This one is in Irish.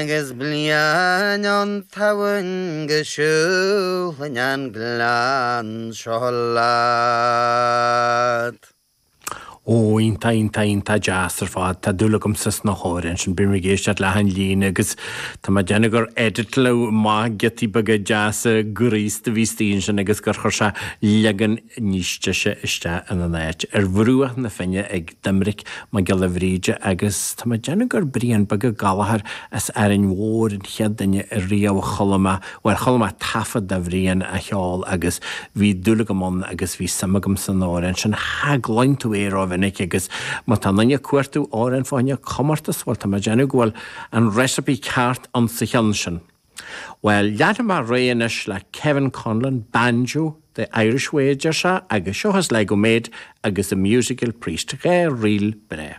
Agus bliain ón tSamhain go siúlfainn an gleann seo leat. Ó, iontach, iontach, iontach deas ar fad. Tá dúil agamsa sna hamhráin sin. Bím ag éisteacht le achan líne agus tá mé ag déanamh gur editleadh maith giotaí beaga deasa graosta a bhí istigh ansin agus gur chuir sé leagan níos deise isteach ina n-áit. Ar Bhruach na Finne ag Doiminic Mac Giolla Bhríde agus tá mé ag déanamh gur Brian Beag Ó Gallchóir as Árainn Mhór an chéad duine a riamh a chuala mé, bhuel, chuala mé taifead de Bhrian á cheol agus bhí dúil agam ann agus bhí suim agam san amhrán sin. Cha gcluin tú é rómhinic agus má tá aon duine ag cuartú amhrán fá choinne comórtas, bhuel, tá mé ag déanamh go bhfuil an recipe ceart ann sa cheann sin. Bhuel, leanfaidh mé ar aghaidh anois le Kevin Conlon, Banjo, The Irish Way a deir sé, agus seo as Sligo Maid agus The Musical Priest, 2 ríl breá.